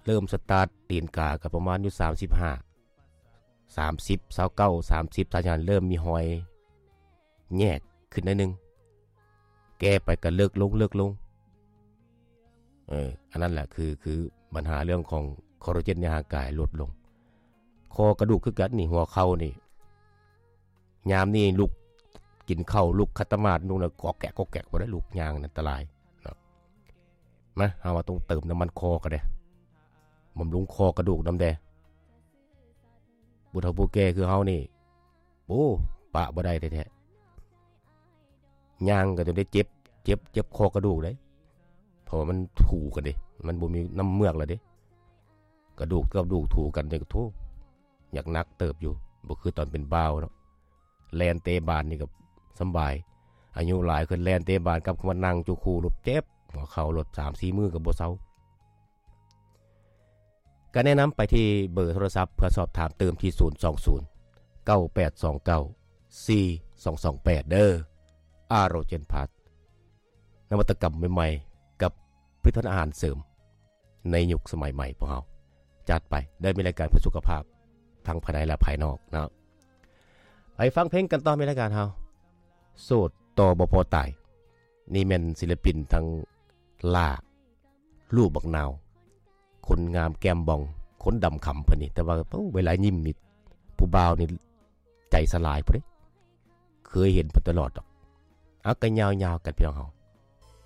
ເລີ່ມສະຕາດຕີນກາກໍປະມານຢູ່ສາມສິບຫ້າ ສາມສິບ ຊາວເກົ້າ ສາມສິບ ສາມສິບ ເລີ່ມມີຮອຍແຍກຂຶ້ນໜ້ອຍໜຶ່ງ ແກ່ໄປກໍເລິກລົງ ເລິກລົງ. ເອີ ອັນນັ້ນແຫຼະ ຄື ຄືບັນຫາເລື່ອງຂອງຄອລລາເຈນໃນຮ່າງກາຍຫຼຸດລົງ. ຂໍ້ກະດູກຄືກັນນີ້ ຫົວເຂົ່ານີ້ ຍາມນີ້ລຸກກິນເຂົ້າ ລຸກຂັດຕະໝາດ ລຸກແລ້ວກອກແກກ ກອກແກກບໍ່ໄດ້ ລຸກຍ່າງນັ້ນອັນຕະລາຍເນາະ. ມາ ເຮົາວ່າຕ້ອງເຕີມນ້ຳມັນຄໍກໍໄດ້ ບຳລຸງຂໍ້ກະດູກນຳແດ່. ຜູ້ເຖົ້າຜູ້ແກ່ຄືເຮົານີ້ ໂອ້ ປະບໍ່ໄດ້ແທ້ໆ ຍ່າງກໍຈົນໄດ້ເຈັບ ເຈັບ ເຈັບຂໍ້ກະດູກເດ້ ເພາະວ່າມັນຖູກັນເດ້ ມັນບໍ່ມີນ້ຳເມືອກແລ້ວເດ້. ກະດູກກັບກະດູກຖູກັນນີ້ກໍ ໂທ້ ຢາກໜັກເຕີບຢູ່ ບໍ່ຄືຕອນເປັນບ່າວເນາະ. ແລ່ນເຕະບານນີ້ກໍສຳບາຍ ອາຍຸຫຼາຍຂຶ້ນແລ່ນເຕະບານກັບມານັ່ງຈຸຄູໂລດ ເຈັບຫົວເຂົ່າໂລດ ສາມສີ່ມື້ກໍບໍ່ເຊົາ. ກໍແນະນຳໄປທີ່ເບີໂທລະສັບເພື່ອສອບຖາມເຕີມທີ່ ສູນສອງສູນ ເກົ້າແປດສອງເກົ້າ ສີ່ສອງສອງແປດ ເດີ. ອາໂຣເຈນພລັສ ນະວັດຕະກຳໃໝ່ໆ ກັບຜະລິດຕະພັນອາຫານເສີມໃນຍຸກສະໄໝໃໝ່. ພວກເຮົາຈັດໄປ ໄດ້ມີລາຍການເພື່ອສຸຂະພາບທັງພາຍໃນ ແລະ ພາຍນອກເນາະ. ໄປຟັງເພງກັນຕໍ່ ມີລາຍການເຮົາ ໂສດຕໍ່ບໍ່ພໍຕາຍ. ນີ້ແມ່ນສິລະປິນທັງຫຼ້າ ລູກບັກນາວ ຄົນງາມແກ້ມບ່ອງ ຄົນດຳຄຳເພິ່ນນີ້ ແຕ່ວ່າ ໂອ້ ເວລາຍິ້ມນີ້ ຜູ້ບ່າວນີ້ໃຈສະຫຼາຍພຸ້ນເດ້ ເຄີຍເຫັນເພິ່ນຕະຫຼອດດອກ. ເອົາ ກໍຍາວໆກັນພີ່ນ້ອງເຮົາ